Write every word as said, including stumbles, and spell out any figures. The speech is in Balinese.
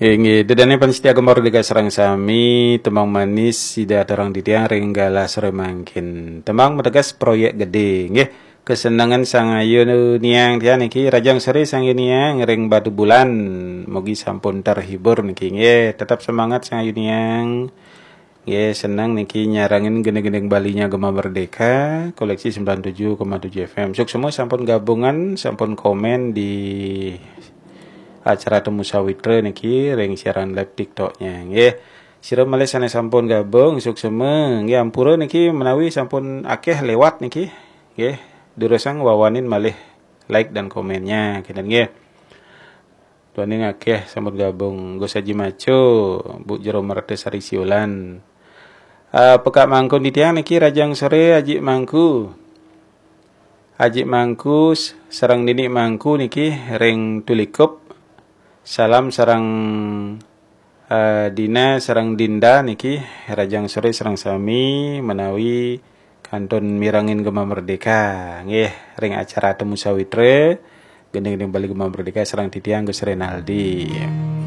Inggih, ida dané pamiarsa Gema Merdeka sareng sami, tembang manis sida aturang titiang ring galah sore mangkin. Tembang mateges proyek gedé, nggih. Kesenengan sang ayu niang tiang niki, rahajeng sore sang ayu niang ring Batubulan. Mugi sampun terhibur niki, nggih. Tetap semangat sang ayu niang. Nggih, seneng niki nyarengin gending-gending Balinya Gema Merdeka, koleksi sembilan tujuh koma tujuh F M. Suksma sampun gabung, sampun komen di acara Temu Sawitra niki ring siaran live TikToknya, nggih. Sira malih sané sampun gabung, suksma, nggih, ampura niki menawi sampun akéh lewat niki, nggih. Durusang wawanin malih like dan komennya, kinten, nggih. Duaning akéh sampun gabung, Gus Haji Maco, Bu Jero Merta Sari Siulan. Eh, pekak Mangku titiang niki, rahajeng sore, Aji Mangku. Aji Mangku s-, sareng Nini Mangku niki ring Tulikup. Salam sareng, eh, Dina sareng Dinda niki, rahajeng sore sareng sami menawi kantun mirengin Gema Merdeka. Nggih, ring acara Temu Sawitra, gending-gending Bali Gema Merdeka sareng titiang Gus Renaldi.